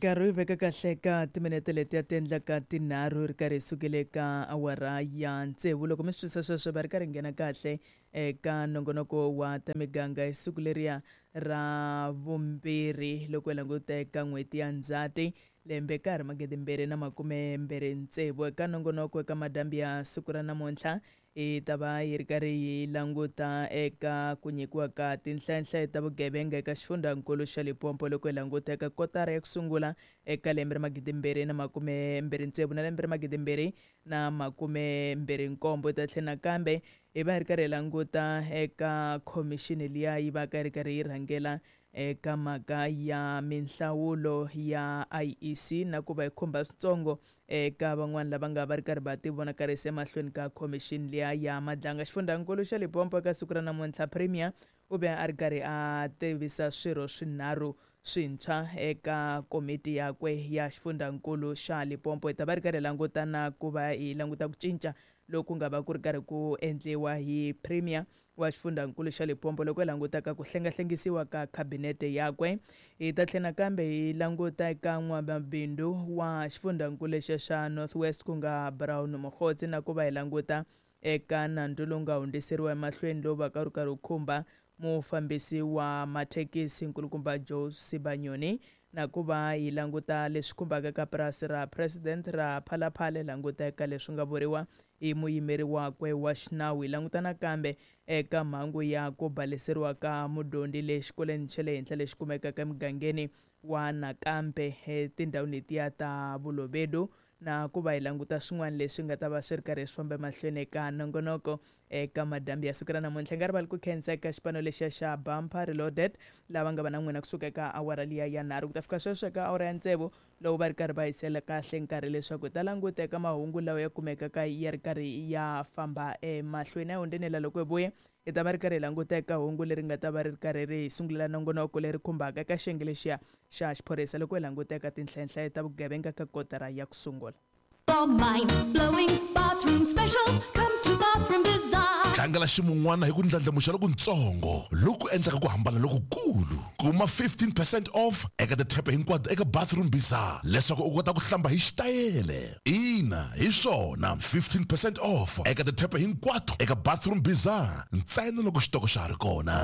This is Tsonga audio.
Nkarhi wu veka kahle ka timinete letiya ti endlaka tinharhu ri karhi hi sukile ka awara ya tsevu. Loko mi swi twisisa sweswo va ri karhi nghena kahle eka nongonoko wa ta miganga hi siku leriya ra vumbirhi loko hi languta eka n'hweti ya Ndzhati lembe ka ha ri magidimbirhi na makume mbirhi tsevu. Eka nongonoko eka madyambu ya siku ra namuntlha hi ta va hi ri karhi hi languta eka ku nyikiwa ka tinhlayanhlayo ta vugevenga eka xifundzankulu xa Limpopo loko hi languta eka kotara ya ku sungula eka lembe ra magidimbirhi na makume mbirhi tsevu na lembe ra magidimbirhi na makume mbirhi nkombo. Hi ta tlhela nakambe hi va hi ri karhi hi languta eka khomixini liya yi va ka yi ri karhi yi rhangela eka mhaka ya minhlawulo ya IEC na ku va yi khumba switsongo eka van'wana lava nga va ri karhi va tivonakarisa emahlweni ka khomixini liya ya Madlanga. Xifundzankulu xa Limpopo eka siku ra namuntlha, Premier u ve a ri karhi a tivisa swirho swinharhu swintshwa eka komiti yakwe ya xifundzankulu xa Limpopo. Hi ta va ri karhi hi languta na ku va hi languta ku cinca loku nga va ku ri karhi ku endliwa hi Premier wa xifundzankulu xa Limpopo loko hi languta ka ku hlengahlengisiwa ka khabinete yakwe. Hi ta tlhela nakambe hi languta eka n'wamabindzu wa xifundzankulu lexiya xa North West ku nga Brown Mogotsi na ku va hi languta eka nandzu lowu nga hundziseriwa emahlweni lowu va ka wu ri karhi wu khumba mufambisi wa mathekisi nkulukumba Joe Sibanyoni na ku va hi languta leswi khumbaka ka purasi ra President ra Phalaphala, hi languta eka leswi nga vuriwa hi muyimeri wakwe wa xinawu. Hi languta nakambe eka mhangu ya ku baleseriwa ka mudyondzi le xikolweni xa le henhla lexi kumekaka emugangeni wa Nakambe etindhawini letiya ta Vulovedu na ku va hi languta swin'wana leswi nga ta va swi ri karhi swi famba emahlweni eka nongonoko eka madyambu ya siku ra namuntlha. Nga rivali ku khensa eka xipano lexiya xa Bumper Reloaded lava nga va na n'wina kusuka eka awara liya ya nharhu ku ta fika sweswo eka awara ya tsevu loko va ri karhi va hisela kahle nkarhi leswaku hi ta languta eka mahungu lawa ya kumekaka ya ri karhi ya famba emahlweni. A hi hundzeni la loko hi vuya hi ta va ri karhi hi languta eka hungu leri nga ta va ri ri karhi ri hi sungulela nongonoko leri khumbaka eka xiyenge lexiya xa xiphorisa loko hi languta eka tinhlayanhlaya ta vugevenga ka kotara ya ku sungula. Mind-blowing bathroom specials. Come to Bathroom Bazaar. Tlangela ximun'wana hi ku ndlandlamuxa lokuntsongo loku endlaka ku hambana lokukulu. Kuma 15 percent off eka tithepe hinkwato eka Bathroom Bazaar leswaku u kota ku hlamba hi xitayele. Ina, hi swona, 15 percent off eka tithepe hinkwato eka Bathroom Bazaar ntsena loko xitoko xa ha ri kona.